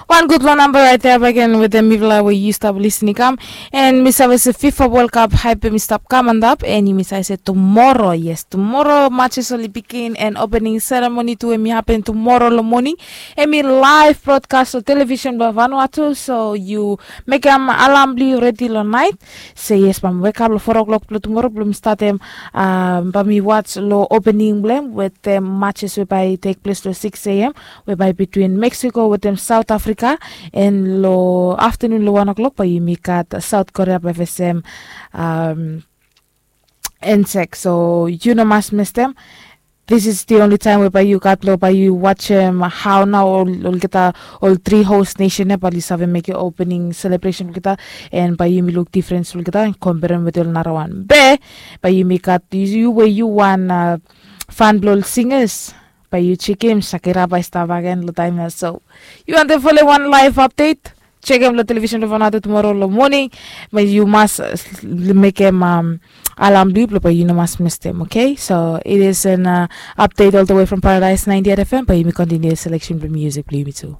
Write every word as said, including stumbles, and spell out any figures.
Wan gutpela namba rait ya baken wetem mipela we yu stap lisin i kam. And mi save se fifa world cup haip em i stap kam antap, and yumi save se tumoro, yes, tumoro matches oli bikin, and opening ceremony tu em i hapen tumoro long moning. Em i live broadcast long television bilong Vanuatu, so yu mekim alam bilong yu redi long nait. Se yes, bai mi wekap long four o'clock bilong tumoro bilong mi statim, um, bai mi wats long opening bilong em wetem matches we bai i tek ples long six a.m. We bai bitwin Mexico wetem South Africa. And long afternoon long one o'clock bai yumi gat South Korea bai fesem, um, Ensek. So yu no mas mestem. This is the only time we bai yu gat long bai yu watchem hau nau ol olgeta, ol three host nation ya bai yu save mekim opening celebration bilgeta. And bai yumi luk difference bilgeta komperem wetem ol nara wan be bai yumi gat yu we yu wan, uh, fan bilong ol singers, bai yu chekim Shakira bai stap agen long taim ya. So yu wantem folem wan live update, chekim long television long Vanuatu tumoro long moning. Bai yu mas, uh, mekim, um, alam bilong yu bilong bai yu no mas mestem, okay? So it is an, uh, update all the way from Paradise ninety-eight F M. Bai yumi continue selection bilong music bilong yumi tu.